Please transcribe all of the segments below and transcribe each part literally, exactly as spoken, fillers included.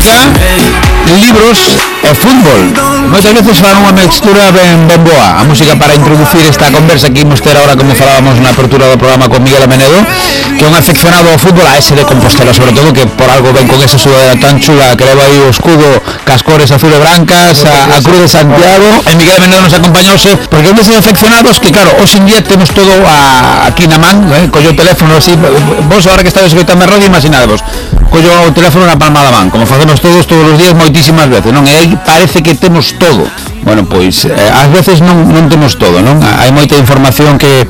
música, libros e fútbol. Moitas veces fan unha mixtura ben, ben boa. A música para introducir esta conversa que imos ter ahora, como falábamos na apertura do programa con Miguel Amenedo, que é un aficionado ao fútbol, a ese de Compostela, sobre todo, que por algo ven con esa sudadera tan chula que leva aí o escudo cas cores azul e brancas, a, a Cruz de Santiago. E Miguel Amenedo nos acompañouse porque é un deses aficionados que, claro, hoxe en día temos todo a, aquí na man, eh, collo o teléfono así. Vos ahora que estades escoitando a radio, imaginadevos, collo o teléfono na palma da man, como facemos todos todos os días moitísimas veces, non? E aí parece que temos todo. Bueno, pois eh, ás veces non, non temos todo, non? Hai moita información que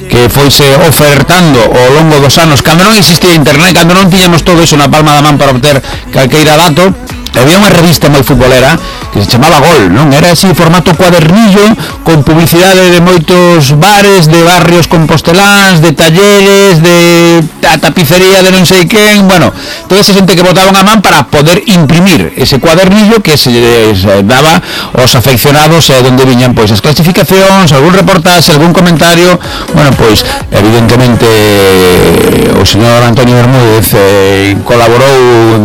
que foise ofertando ao longo dos anos, cando non existía internet, cando non tiñamos todo iso na palma da man para obter calqueira dato. Había unha revista moi futbolera que se chamaba Gol, non? Era así, formato cuadernillo, con publicidade de moitos bares, de barrios composteláns, de talleres, de a tapicería de non sei quen, bueno, toda esa xente que botaban a man para poder imprimir ese cuadernillo que se les daba aos afeccionados, e onde viñan pois as clasificacións, algún reportaxe, algún comentario. Bueno, pois evidentemente o señor Antonio Bermúdez eh, colaborou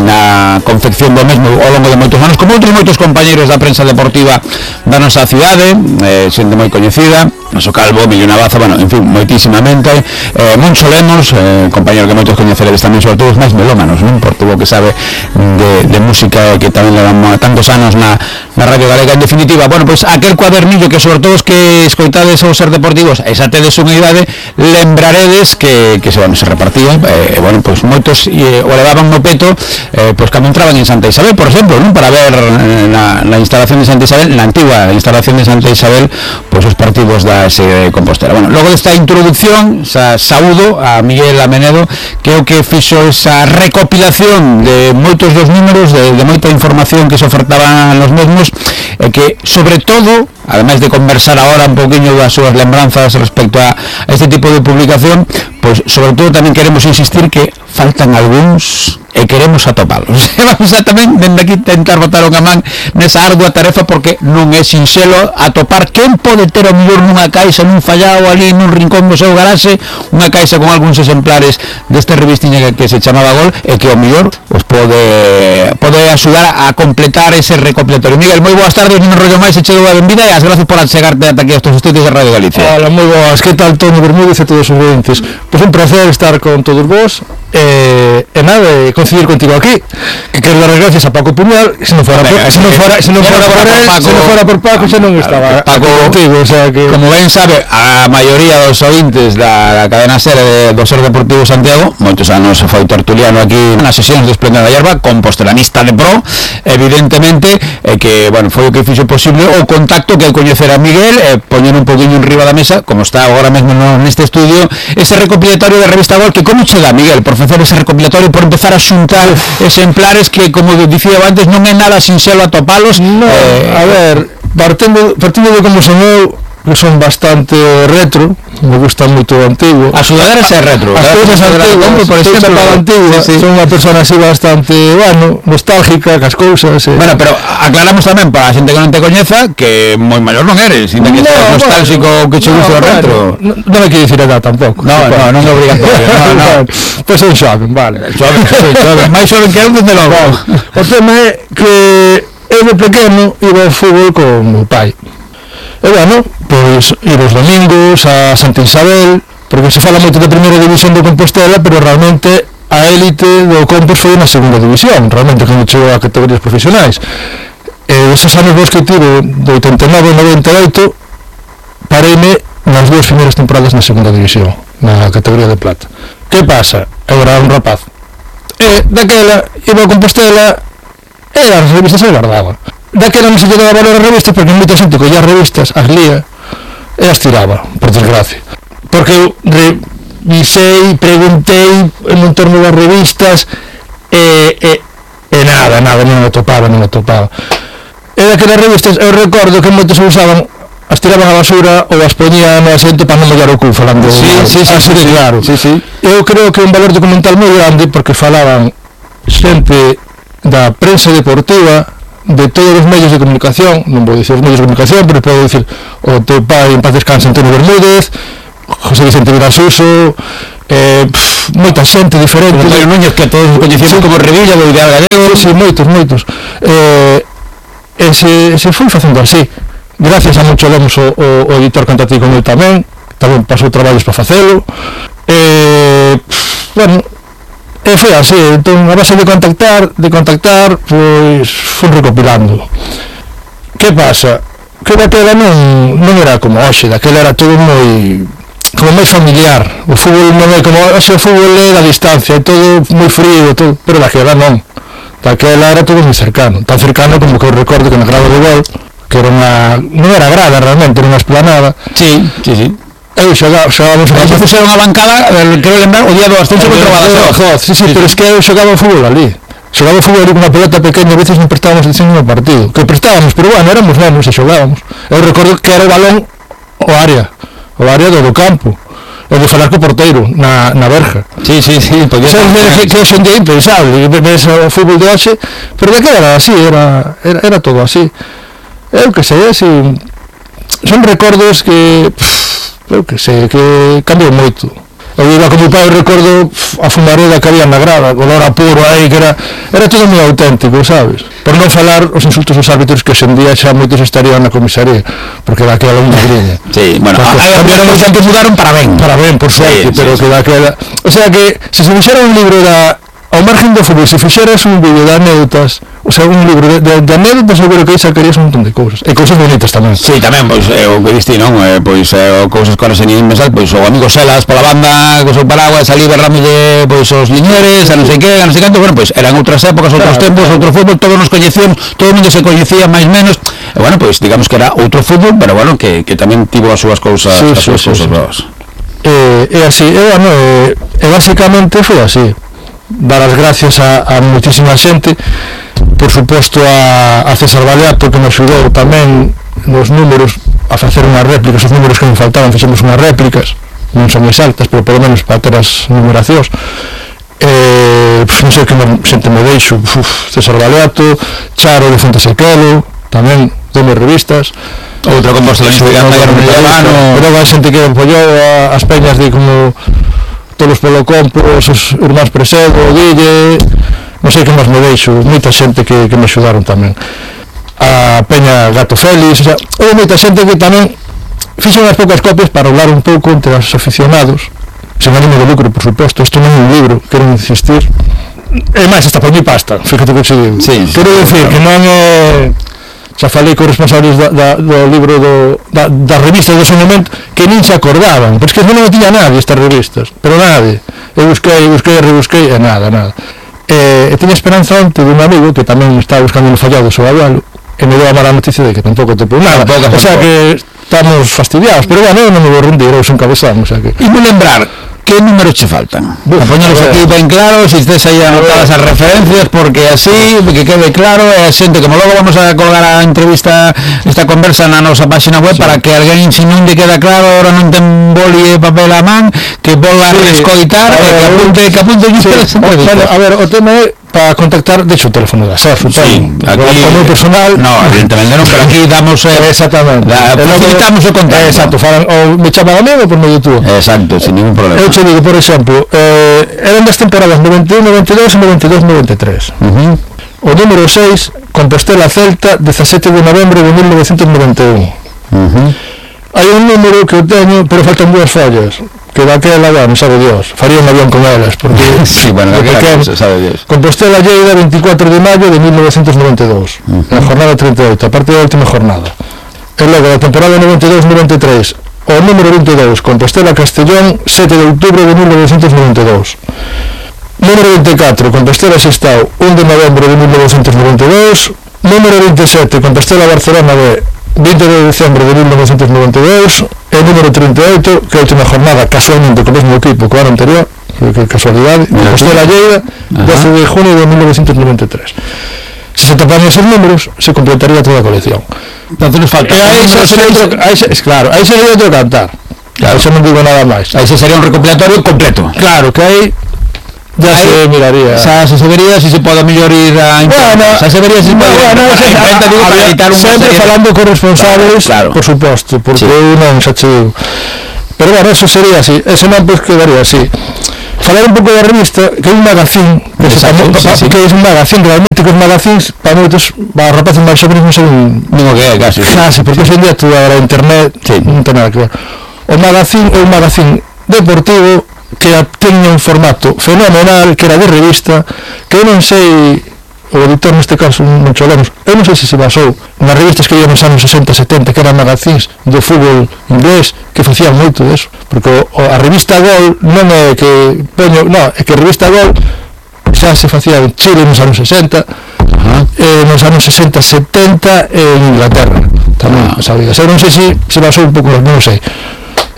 na confección do mesmo ao longo de moitos anos, como outros moitos compañeiros da prensa deportiva da nosa cidade, eh, xente moi coñecida, Noso Calvo, Emilio Navaza, bueno, en fin, moitísimamente, eh, Moncho Lemos, eh, compañero que moitos coñeceredes tamén, sobre todo os máis melómanos, non? Por todo o que sabe de, de música, que tamén levamos tantos anos na, na Radio Galega. En definitiva, bueno, pois pues, aquel cuadernillo que sobre todo os que escoitades ou ser deportivos, e xa tedes unha idade, lembraredes que, que se, bueno, se repartía, eh, bueno, pois pues, moitos eh, o levaban no peto, eh, pois pues, cando entraban en Santa Isabel, por exemplo, non? Para ver eh, na, na instalación de Santa Isabel, na antigua instalación de Santa Isabel, pois pues, os partidos da ese de Compostela. Bueno, logo desta introducción, sa, saúdo a Miguel Amenedo, que é o que fixo esa recopilación de moitos dos números, de, de moita información que se ofertaban nos mesmos, e que, sobre todo, ademais de conversar agora un poquinho das súas lembranzas respecto a, a este tipo de publicación, pois, sobre todo, tamén queremos insistir que faltan algúns e queremos atopalos. Vamos a tamén dende aquí tentar botar unha man nesa ardua tarefa, porque non é sinxelo atopar quen pode ter o mellor nunha caixa, nun fallao ali nun rincón do seu garaxe, unha caixa con algúns exemplares desta revistiña que, que se chamaba Gol, e que o mellor os pode pode axudar a completar ese recopilatorio. Miguel, moi boas tardes, non me rollo máis, e che dou a benvida e as gracias por achegarte ata aquí aos estudios de Radio Galicia. Hola, moi boas, que tal, Toni Bermúdez e todos os oyentes? Pois un placer estar con todos vos, e, e nada, e coincidir contigo aquí, que quero dar as gracias a Paco Puñal, se non fora por, se non fora, se non fora por él, se non fora por Paco, xa non estaba Paco contigo, o sea que, como ben sabe a maioría dos ointes da, da cadena SER de, do Ser Deportivo Santiago, moitos anos foi tertuliano aquí nas sesións de Esplendor da Hierba, compostelanista de pro, evidentemente, e que, bueno, foi o que fixo posible o contacto que coñecer a Miguel, e poñer un poquinho enriba da mesa, como está agora mesmo neste estudio, ese recopilatorio da revista Gol, que como che dá, Miguel, por facer ese recopilatorio, por empezar a xuntar exemplares que, como dicía antes, non é nada sinxelo atopalos. No, eh, a ver, partindo, partindo de como son eu, que son bastante retro, me gusta moito o antigo. A sudaderas é retro. As cousas antiguas, por exemplo, antigua, sí, sí. Son unha persona así bastante, bueno, nostálgica, cas cousas. Eh. Bueno, pero aclaramos tamén para a xente que non te coñeza que moi maior non eres, sin que no, seas nostálxico ou bueno, que che guste no, o retro. Non no, no me quero dicir a edad tampouco. No, no, non é obligatorio. No, no. Pois son xoven, vale. Xoven, sí, xoven. Mais xoven que eu, desde logo. O tema é que eu de pequeno iba ao fútbol con meu pai. E bueno, pois ir os domingos a Santa Isabel, porque se fala moito da primeira división do Compostela, pero realmente a élite do Compos foi na segunda división, realmente cando chegou a categorías profesionais. E esos anos vos que tive, de oitenta e nove a noventa e oito, pareime nas dúas primeiras temporadas na segunda división, na categoría de plata. Que pasa? Eu era un rapaz. E daquela iba a Compostela e as revistas se guardaba. Daquela non se lle daba valor a revistas, porque moita xente collía as revistas, as lía e as tiraba, por desgracia. Porque eu revisei, preguntei en un torno das revistas e, e, e nada, nada, non o topaba, non o topaba. E daquelas revistas eu recordo que moitos usaban, as tiraban a basura ou as poñían no asento para non mollar o cu, falando sí, sí, sí, así sí, de claro. Sí, sí. Eu creo que é un valor documental moi grande, porque falaban xente da prensa deportiva, de todos os medios de comunicación, non vou dicir os medios de comunicación, pero podo dicir o teu pai en paz descanse, Antonio Bermúdez, José Vicente Virasuso, eh, pff, moita xente diferente. Antonio Núñez, que todos coñecemos sí. como Revilla, o Ideal Gallego. Sí, sí, moitos, moitos. Eh, e se, se foi facendo así. Gracias a Moncho Lemos, o, o, o editor cantativo con el tamén, tamén pasou traballos para facelo. Eh, bueno, e foi así, entón a base de contactar, de contactar, pois foi recopilando. Que pasa? Que daquela non, non era como hoxe, daquela era todo moi como máis familiar. O fútbol non é como hoxe, o fútbol é da distancia, é todo moi frío, todo, pero daquela non. Daquela era todo moi cercano, tan cercano como que eu recordo que na grada de gol, que era unha, non era grada realmente, era unha esplanada. Sí, sí, sí. Eu xogaba, xogábamos a veces era unha bancada, quero lembrar, o día do ascenso contra o Badajoz. Sí, sí, pero es que eu xogaba o fútbol ali. Xogaba o fútbol ali con unha pelota pequena, a veces non prestábamos atención no partido. Que prestábamos, pero bueno, éramos menos e xogábamos. Eu recordo que era o balón o área, o área do, do campo. E de falar co porteiro, na, na verja. Sí, sí, sí. Podía ser que, que hoxe en día impensable, ves o fútbol de hoxe, pero de que era así, era, era, era todo así. Eu que sei, así, son recordos que... eu que sei, que cambiou moito. Eu iba con mi pai, recordo a fumareda que había na grada, olor a puro aí, que era era todo moi auténtico, sabes? Por non falar os insultos aos árbitros, que hoxe en día xa moitos estarían na comisaría, porque daquela unha griña. Sí, bueno, aí cambiaron os que mudaron para ben. Para ben, por suerte, sí, pero sí, que daquela... O sea que, se se fixera un libro da... ao margen do fútbol, se fixeras un vídeo de anécdotas, o sea, un libro de, de, de anécdotas, seguro que aí sacarías un montón de cousas, e cousas bonitas tamén. Sí, tamén, pois, eh, o que diste, non? Eh, pois, eh, cousas que ahora se nin pensar, pois, o amigo Selas pola banda, co seu paraguas, ali berramos de, pois, os liñeres, a non sei que, a non sei canto, bueno, pois, eran outras épocas, outros claro, tempos, outro fútbol, todos nos coñecíamos, todo o mundo se coñecía máis menos, e, bueno, pois, digamos que era outro fútbol, pero, bueno, que, que tamén tivo as súas cousas, sí, as sí, súas sí, cousas sí. novas. E, e así, e, bueno, e, e basicamente foi así. Dar as gracias a, a muitísima xente, por suposto a, a César Baleato, que me axudou tamén nos números a facer unhas réplicas, os números que me faltaban fixemos unhas réplicas, non son exactas, pero polo menos para ter as numeracións. Eh, pues, non sei que me, xente me deixo, uf, César Baleato, Charo de Fonte Sequelo, tamén deme revistas, outra composta de Instagram, pero hai xente que apoiou as peñas de como todos polo compo, os irmáns Presedo, Guille, non sei que máis me deixo, moita xente que, que me axudaron tamén. A Peña Gato Félix, o sea, houve moita xente que tamén fixo unhas poucas copias para hablar un pouco entre os aficionados, sen ánimo de lucro, por suposto, isto non é un libro, quero insistir. E máis, hasta por mi pasta, fíjate que se digo. Sí, quero dicir que non é... xa falei con responsables da, da, do libro do, da, das revistas do seu momento que nin se acordaban, porque non me tiña nadie estas revistas, pero nadie. Eu busquei, busquei, rebusquei e nada, nada. E, e tiña esperanza ante dun amigo que tamén estaba buscando no fallado o seu abuelo e me deu a mala noticia de que tampouco topou nada, o sea que estamos fastidiados, pero bueno, eu non me vou rendir, eu son cabezón, o sea que... E me lembrar, que números che faltan? Bueno, poñelos aquí ben claro, se estés aí anotadas as referencias, porque así, que quede claro, e a xente, como logo vamos a colgar a entrevista, esta conversa na nosa página web, sí, para que alguén, se non lle queda claro, ahora non ten boli e papel a man, que volva sí, a escoitar, e que apunte, que apunte, sí, sí. Bueno, a ver, o tema é para contactar, de hecho, o teléfono da S E F, sí, aquí, o meu personal, no, evidentemente non, pero aquí damos, eh, exactamente, facilitamos o contacto, exacto, falan, ou me chaman a mí ou por medio tú, exacto, sin ningún problema. Eu te digo, por exemplo, eh, eran das temporadas noventa e un, noventa e dous e noventa e dous, noventa e tres. Uh-huh. O número seis, Compostela Celta, dezasete de novembro de mil novecientos noventa e un. Uh-huh. Hai un número que eu teño, pero faltan dúas follas, que daquela, bueno, sabe Dios, faría un avión con elas, porque... sí, bueno, daquela cosa, sabe Dios. Compostela Lleida, veinticuatro de maio de mil novecientos noventa e dous, uh-huh, na jornada treinta e oito, a parte da última jornada. E logo, da temporada noventa e dous noventa e tres, o número vinte e dous, Compostela Castellón, sete de outubro de mil novecientos noventa e dous. Número vinte e catro, Compostela Sestao, un de novembro de mil novecientos noventa e dous. Número vinte e sete, Compostela Barcelona B, vinte de decembro de mil novecientos noventa e dous. E número trinta e oito, que é a última jornada, casualmente co mesmo equipo que o ano anterior, que casualidade, Compostela Lleida, doce de junio de mil novecientos noventa e tres. Se se topan esos números, se completaría toda a colección. Entonces nos falta. E aí se sería outro, aí se, claro, aí sería outro cantar. Claro, eso non digo nada máis. Aí se sería un recopilatorio completo. Claro, que aí ya aí, se miraría. Xa se, se vería se se pode mellor ir a internet. Bueno, xa se vería se se pode bueno, ir a imprenta, digo, para editar un sempre falando con responsables, claro, claro, por suposto, porque sí, eu non xa che digo. Pero bueno, eso sería así, ese non pois quedaría así. falar un pouco da revista, que é un magazín, que, Exacto, pa, sí, pa, sí. que é un magazín, realmente que os magazíns, para moitos, para rapaces máis sobres non son Digo que é casi. casi, porque hoxe en día tú agora internet Sí. non ten nada que ver. O magazín é un magazín deportivo que tiña un formato fenomenal, que era de revista, que eu non sei, o editor neste caso non cholemos, eu non sei se se basou nas revistas que había nos anos sesenta setenta, que eran magazíns do fútbol inglés, que facían moito deso, porque o, o, a revista Gol non é que poño, non, é que a revista Gol xa se facía en Chile nos anos sesenta, uh-huh. eh, nos anos sesenta setenta en Inglaterra tamén, uh-huh. Sabía, eu non sei se se basou un pouco, non sei.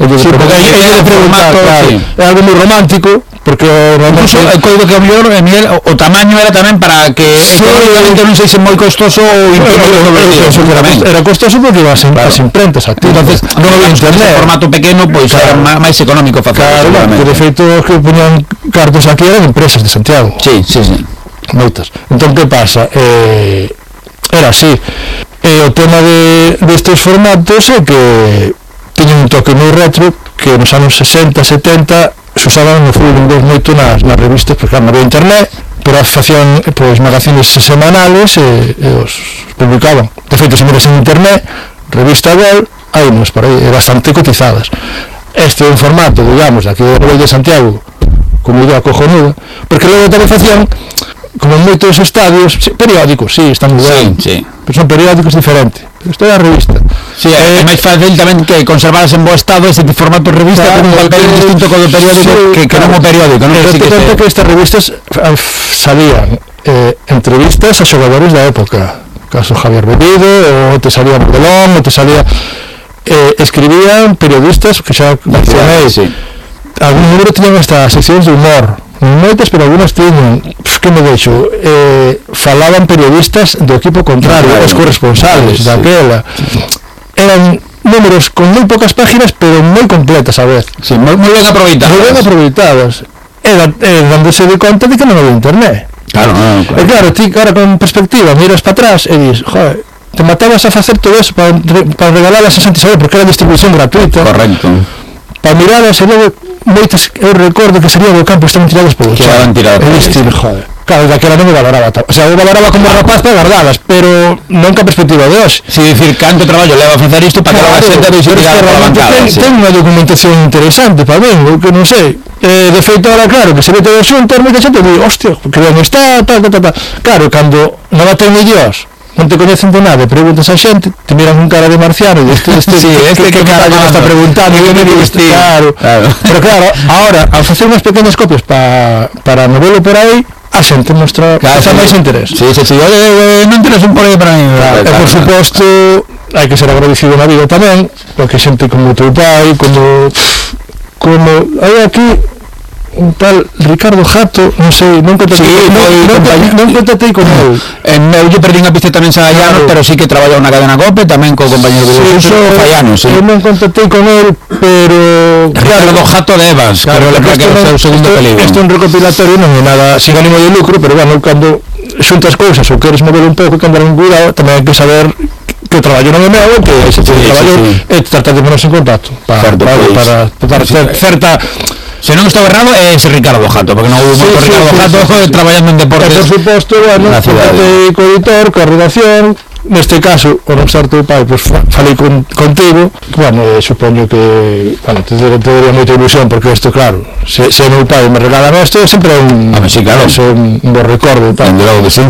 Sí, porque aí é de preguntar, claro, sí. É algo moi romántico, porque incluso el código que mellor, Miguel, o, o tamaño era tamén para que sí, económicamente non sei se moi costoso ou imprimir, era costoso porque ibas en as imprentas aquí, entonces non había internet, formato pequeno, pois era máis económico facer. Claro, que de feito que poñían cartos aquí eran empresas de Santiago. Sí, sí, sí. Moitas. Entón que pasa? Eh, era así. E o tema de destes formatos é que tiña un toque moi retro, que nos anos sesenta, setenta se usaban no fútbol inglés moito nas, nas revistas, porque non había internet, pero facían pois magazines semanales e, e os publicaban. De feito, se miras en internet, revista Gol, hai nos por aí, e bastante cotizadas. Este é un formato, digamos, aquí do Gol de Santiago, como idea cojonuda, porque logo tamén facían, como en moitos estadios, periódicos, sí, están moi ben, sí, sí. Pero son periódicos diferentes. Isto é a revista. Sí, é eh, máis fácil tamén que conservaras en bo estado ese formato de revista, claro, con un papel que, distinto co do periódico, sí, que, que claro, non o periódico, non? Pero te conta que estas revistas salían eh, entrevistas a xogadores da época, caso Javier Bellido, ou te salía Modelón, ou te salía eh, escribían periodistas que xa mencionei, sí. Algún número tiñan estas seccións de humor, moitas, pero algunas tiñan, que me deixo, eh, falaban periodistas do equipo contrario, claro, os corresponsales, sí, daquela, eran números con moi pocas páginas, pero moi completas a vez. Sí, moi, moi ben aproveitadas. Moi ben aproveitadas. Era, era dándose de conta de que non había internet. Claro, no, claro. E claro, ti, cara, con perspectiva, miras para atrás e dis, joder, te matabas a facer todo eso para, para regalarlas a Santi Isabel, porque era distribución gratuita. Correcto. Para mirarlas e logo moitas, eu recordo que sería do campo estaban tiradas polo chan. Estaban tiradas polo chan. Joder. Claro, daquela non me valoraba, o sea, eu valoraba como rapaz para guardalas, pero non ca perspectiva de hoxe. Si dicir, canto traballo leva a facer isto para que a xente deixe tirada pola bancada. Ten unha documentación interesante para mí, o que non sei. Eh, de feito, ahora, claro, que se ve todo xunto, moita xente di, hostia, que ben está, tal, tal, tal. Claro, cando non a ten Dios, non te coñecen de nada, preguntas a xente, te miran con cara de marciano e este, este, sí, este que, que, que cara me está preguntando, que me diste, claro, claro. Pero claro, ahora, ao facer unhas pequenas copias pa, para novelo por aí, a xente mostra claro, sí, máis interés. Sí, sí, sí, oye, non tenes un por aí para mí. Claro, e por suposto, hai que ser agradecido na vida tamén, porque xente como teu pai, como como hai aquí un tal Ricardo Jato, non sei, non contatei, sí, non, non, non contatei con el. En meu lle perdí unha pista tamén Sagallano, claro, pero sí que traballou na cadena COPE, tamén co compañero de sí, uso Fallano, sí. Eu non contatei con el, pero Ricardo claro, Jato de Evans, claro, que era o seu segundo peligro. Isto é un recopilatorio, non é nada sin ánimo de lucro, pero bueno, cando xuntas cousas ou queres mover un pouco e cambiar un cuidado, tamén hai que saber que o traballo non é meu, que ese sí, traballo sí, sí. É tratar de ponerse en contacto para, certo, para, pues, para, para, para sí, certa. Se non estou errado é ese Ricardo Jato, porque non houve sí, moito sí, Ricardo sí, Jato sí, sí, traballando en deportes. E por suposto, bueno, contactei co editor, coa redacción, neste caso, o non ser teu pai, pois pues, falei con, contigo, bueno, eh, supoño que, bueno, te, te daría moita ilusión, porque isto, claro, se, se meu pai me regalan isto, sempre é un, ah, sí, claro, é un, un bo recordo, tal. De logo que sí.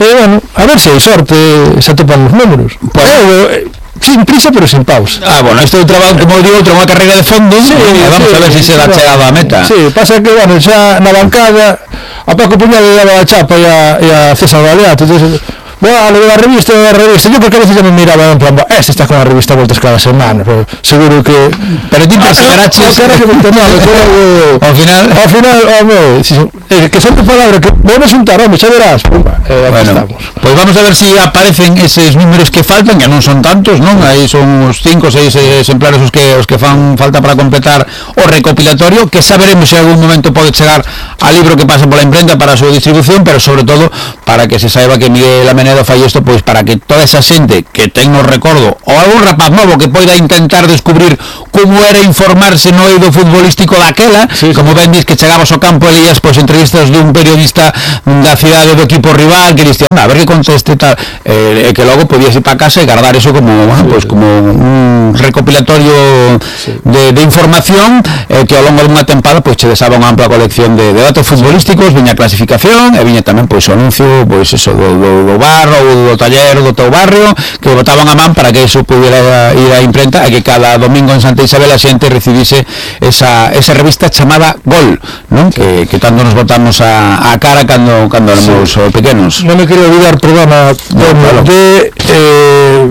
E, bueno, a ver se hai sorte, se atopan os números. Pues, eh, sin prisa pero sin pausa. Ah, bueno, isto é un traballo, como digo, outra unha carreira de fondo, sí, e vamos sí, a ver se si se dá chegada a meta. Sí, pasa que, bueno, xa na bancada a Paco Puñal le daba a chapa e a, e a César Galeato, entonces, bueno, le daba a revista, a revista, yo porque a veces ya me miraba en plan, este está con a revista voltas cada semana, pero seguro que... Pero ti perseveraches... Ao final... Ao final, home, eh, que son tu palabra, que vuelves un tarón, xa verás. Pumba, eh, bueno, estamos. Pois vamos a ver se si aparecen eses números que faltan, que non son tantos, non? Aí son uns cinco ou seis exemplares os que os que fan falta para completar o recopilatorio, que saberemos se en algún momento pode chegar al libro que pasa pola imprenta para a súa distribución, pero sobre todo para que se saiba que Miguel Amenedo fai isto, pois para que toda esa xente que ten no recordo, ou algún rapaz novo que poida intentar descubrir como era informarse no eido futbolístico daquela, sí, sí. Como ben dis que chegabas ao campo e lías pois entrevistas dun periodista da cidade do equipo rival que diste, a ver que conteste tal, eh, e que logo podías ir para casa e guardar eso como, bueno, sí, pues, sí. como un recopilatorio sí. de, de información eh, que ao longo dunha tempada pois che desaba unha ampla colección de, de datos futbolísticos, viña a clasificación e viña tamén pois o anuncio pois eso do, do, do bar ou do taller do teu barrio que botaban a man para que eso pudiera ir á imprenta e que cada domingo en Santa Isabel a xente recibise esa, esa revista chamada Gol, non? Que, que tanto nos botamos a, a cara cando, cando éramos sí. pequenos. Non me quero olvidar programa no, claro. de eh,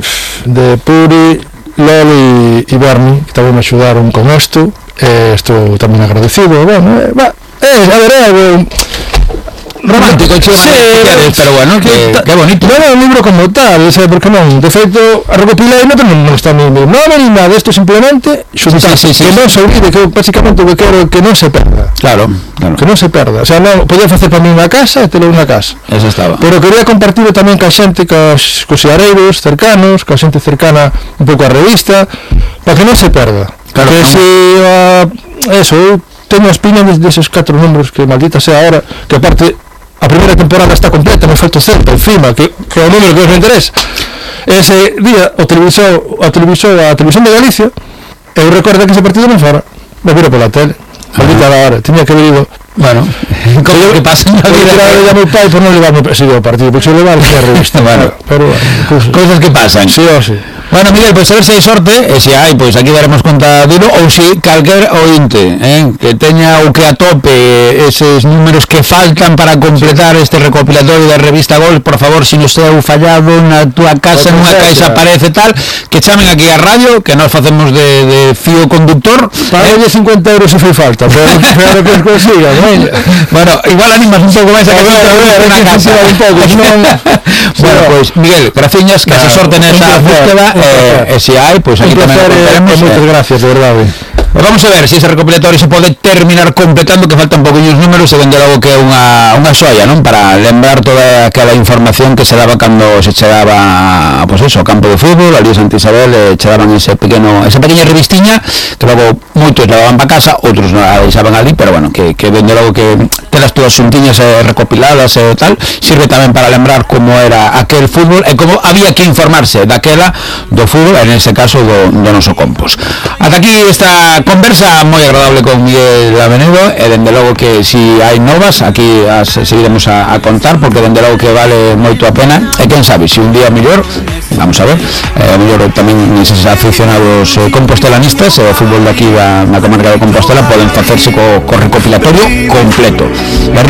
de Puri, Loli e Berni que tamén me axudaron con isto, eh, estou tamén agradecido. Bueno, eh, va, eh, a ver, eh, romántico, sí, pero bueno, que, que bonito. Non é un libro como tal, sabe por que non? De feito, a recopilei non, non está no nome ni nada, isto simplemente xuntar, sí, sí, sí, que sí, non se olvide, que basicamente o que quero que non se perda. Claro, claro. Que non se perda, o sea, non, podía facer para mí unha casa e telo unha casa. Eso estaba. Pero quería compartirlo tamén ca xente, cos, cos xeareiros cercanos, ca xente cercana un pouco á revista, para que non se perda. Claro, que se, uh, eso, eu teño as piñas deses catro números que maldita sea ahora, que aparte a primeira temporada está completa, me falta certo, encima, que, que é o número que nos interesa. Ese día, o televisor, a televisor, a televisión de Galicia, eu recordo que ese partido non fora, me viro pola tele, maldita la hora, tiña que haber ido. Bueno, como que pasa en la vida. Eu llamo ao pai por non levarme seguido ao partido, porque se levar a revista. Bueno, pero cosas, cosas que pasan. Sí, o sí. Bueno, Miguel, pois pues, a ver se hai sorte, e se hai, pois pues, aquí daremos conta dilo, ou se calquer ointe, eh, que teña o que atope eses números que faltan para completar este recopilatorio da revista Gol, por favor, se si nos seu fallado na túa casa, nunha caixa aparece tal, que chamen aquí a radio, que nós facemos de, de fío conductor. Págale eh? cincuenta euros se fai falta, pero claro que os consiga, ¿no? Bueno, igual animas un pouco máis a que a casa un pouco, non. Bueno, pois, pues, Miguel, graciñas, que se sorte nesa búsqueda. Eh, e se hai, pois pues aquí tamén contaremos. Moitas gracias, de verdade. Pues vamos a ver se si ese recopilatorio se pode terminar completando, que faltan poquinhos números, e vende logo que é unha, unha xoia, non? Para lembrar toda aquela información que se daba cando se chegaba, pois pues eso, ao campo de fútbol, ali en Santa Isabel, eh, chegaban ese pequeno, esa pequena revistiña, que logo moitos levaban para casa, outros non a deixaban ali, pero bueno, que, que vende logo que telas túas xuntiñas eh, recopiladas e eh, tal, sirve tamén para lembrar como era aquel fútbol e como había que informarse daquela do fútbol, en ese caso do, do noso Compos. Ata aquí esta conversa moi agradable con Miguel Amenedo, e dende logo que si hai novas aquí as seguiremos a, a contar, porque dende logo que vale moito a pena, e quen sabe, se si un día mellor, vamos a ver, eh, mellor tamén eses aficionados eh, compostelanistas, e eh, o fútbol de aquí da, na comarca de Compostela poden facerse co, co recopilatorio completo.